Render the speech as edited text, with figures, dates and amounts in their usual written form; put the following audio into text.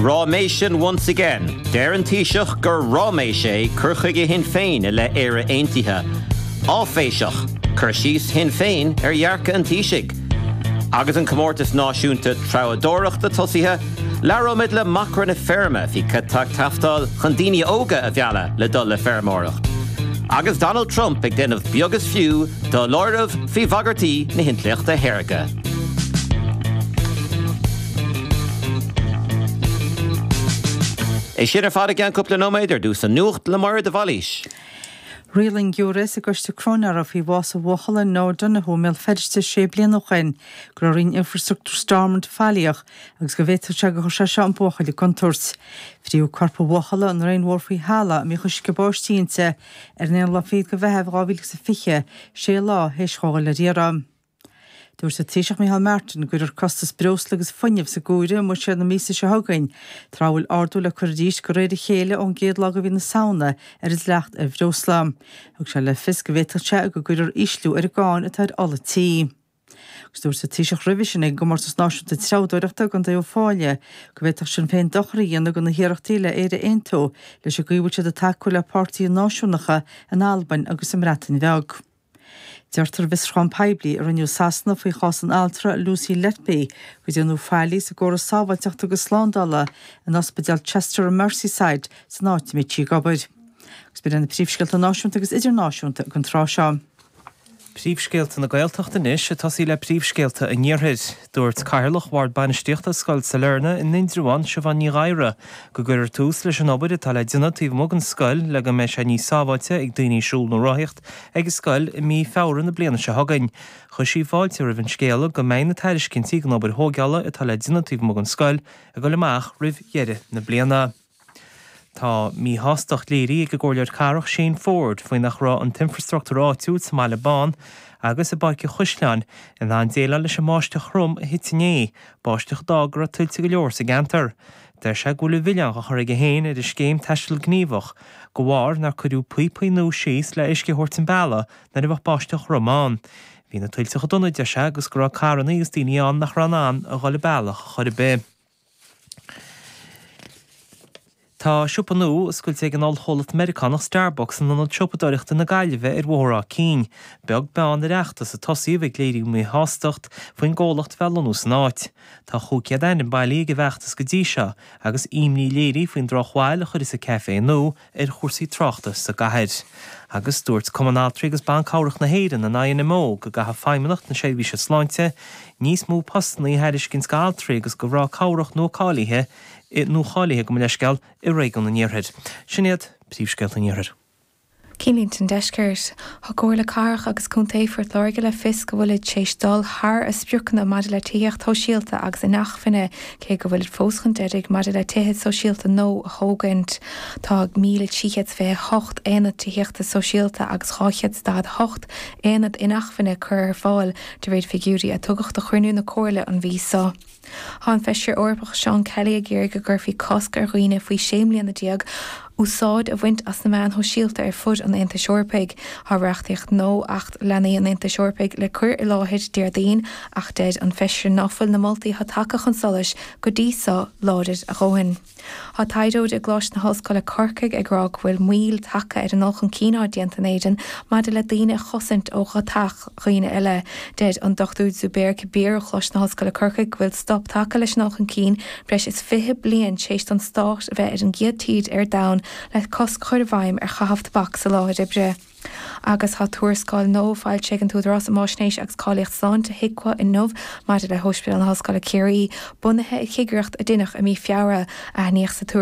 Ráiméisean once again. Deir an Taoiseach gur ráiméis é cur chuige Shinn Féin i leith Éire Aontaithe. Áiféiseach, cur síos Shinn Féin ar dhearcadh an Taoisigh. Agus an Comórtas Náisiúnta Treabhdóireachta tosaithe, labhróimid le macra na feirme faoi cad tá ag teastáil chun daoine óga a mhealladh le dul le feirmeoireacht. Agus Donald Trump ag déanamh beag is fiú d'fholáireamh faoi bhagairtí na hintleachta shaorga. É sin ar fad i gceann cúpla nóiméad, ar dtús an nuacht le Máire de Bhailís. Rialaigh an giúiré sa gcoiste cróinéara faoi bhás an bhuachalla Noah Donohoe i mBéal Feirste sé bliana ó shin go raibh Roinn Infrastruchtúr Stormont faillíoch agus go bhféadfadh sé gur chuir sé seo an buachaill i gcontúirt. Frítheadh corp an bhuachalla i ndraein mhór faoi thalamh a mbíodh uisce báistí inti ar an aonú lá fichead de Mheitheamh 2020, sé lá théis dhó dhul ar iarraidh. Dúirt an Taoiseach Micheál Martin go gcuirfear costas breosla agus fuinnimh san áireamh i mbuiséad na míosa seo chugainn, tráth a bhfuil ardú le cur arís de réir a chéile ón gcéad lá de mhí na Samhna ar an dleacht ar bhreosla. Thug sé le fios go bhféadfadh sé go gcuirfear ísliú ar an gcáin atá ar ola tí. Agus dúirt an Taoiseach roimhe sin ag an gComórtas Náisiúnta Treabhdóireachta i gContae Uíbh Fhailí go bhféadfadh Sinn Féin dochar a dhéanamh do na hiarrachtaí le Éire a aontú leis an gcaoi a bhfuil siad ag tacú le páirtithe náisiúnacha in Albain agus sa mBreatain Bheag. Deirtear i bhfiosrúchán poiblí a rinneadh i Sasana faoi chás an altra Lucy Letby gur déanadh faillí sa gcóras sábháilteachta agus slándála in ospidéal Chester i Merseyside san áit a mbíodh sí ag obair. Agus b'in iad na príomhscéalta náisiúnta agus idirnáisiúnta don tráth seo. Príomhscéalta na Gaeltachta anois, ag tosaí le príomhscéalta an Iarthair. Dúirt Cathaoirleach Bhord Bainistíochta Scoil Sailearna in Indreabhán, Siobhán Ní Ghadhra, go gcuirfear tús leis an obair atá le déanamh taobh amuigh den scoil le go mbeidh sé níos sábháilte ag daoine siúl nó rothaíocht ag an scoil i mí Feabhra na bliana seo chugainn. Chuir sí fáilte roimh an scéala go mbeidh na tairiscintí don obair thóigeála atá le déanamh taobh amuigh den scoil ag dul amach roimh dheireadh na bliana. Tá míshástacht léirithe ag an gComhairleoir Cathrach Shane Forde faoi nach raibh an t-infreastruchtúr áitiúil sa mBaile Bán agus i bPáirc an Chaisleáin in ann déileáil leis an mbáisteach throm a thit inné, báisteach a d'fhág go raibh tuilte go leor sa gceantar. Deir sé go bhfuil an mhilleán á chur aige féin ar an scéim Taisteal Gníomhach de bharr nár cuireadh píopaí nua síos le uisce a thabhairt an bealaigh nuair a bheadh báisteach throm ann. Bhí na tuilte chomh dona, deir sé, agus go raibh carrannaí agus daoine ann nach raibh in ann a dhul an bealach chor ar bith. Tá siopa nua oscailte ag an ollchomhlacht Meiriceánach Starbucks in Ionad Siopadóireachta na Gaillimhe ar Bhóthar Áth Cinn, beag beann ar fheachtas a tosaíodh ag léiriú míshástacht faoin gcomhlacht bheith lonnú san áit. Tá 500 ainm bailithe ag an bhfeachtas go dtí seo agus imní léirithe faoin drochbhail a chuirfeas an caifé nua ar chúrsaí tráchta sa gcathair. Agus dúirt Cumann Altraí agus Ban Cabhrach na hÉireann, an INMO, go gcaithfidh Feidhmeannacht na Seirbhíse Sláinte níos mó postanna a thairiscint d'altraí agus do mhná cabhrach nua-cáilithe, nuacháilithe, gabh mo leithscéal, i réigiún an Iarthair. Sin iad príomhscéalta an Iarthair. Cinnlínte an Deiscirt. Thug Comhairle Cathrach agus Contae Phort Láirge le fios go bhfuilid théis dul thar a spriocanna maidir le tithíocht shóisialta agus inacmhainne, cé go bhfuilid fós chun deiridh maidir le tithe sóisialta nua a thógaint. Tá 1,328 aonad tithíochta sóisialta agus 248 aonad inacmhainne curtha ar fáil, de réir figiúirí a tugadh do chruinniú na Comhairle an mhí seo. Tá an Feisire Eorpach Seán Kelly ag iarraidh go gcuirfí cosc ar dhaoine faoi 16 mbliana úsáid a bhaint as na meáin shóisialta ar fud an Aontais Eorpaigh. Tá reachtaíocht nua, Acht Leanaí an Aontais Eorpaigh, le cur i láthair Déardaoin ach deir an Feisire ná fuil na moltaí atá tagtha chun solais go dtí seo láidir a dhóthain. Tá taighdeoir i gColáiste na hOllscoile Corcaigh ag rá go bhfuil moill tagtha ar an ndul chun cinn atá déanta in Éirinn maidir le daoine a chosaint ó dhotacht dhaoine eile. Deir an Dr Zubair Kabir ó Choláiste na hOllscoile Corcaigh go bhfuil stop tagtha leis an ndul chun cinn breis is 20 bliain tar éis don stát a bheith ar an gcéad tír ar domhan le cosc a chur i bhfeidhm ar chaitheamh tobac sa láthair oibre. Agus tá tuarascáil nua foilsithe ag an tÚdarás um Fháisnéis agus Cáilíocht Sláinte, HIQA, inniu maidir le hOspidéal na hOllscoile Ciarraí, bunaithe ar chigireacht a deineadh i mí Feabhra. Aithníodh sa tuarascáil.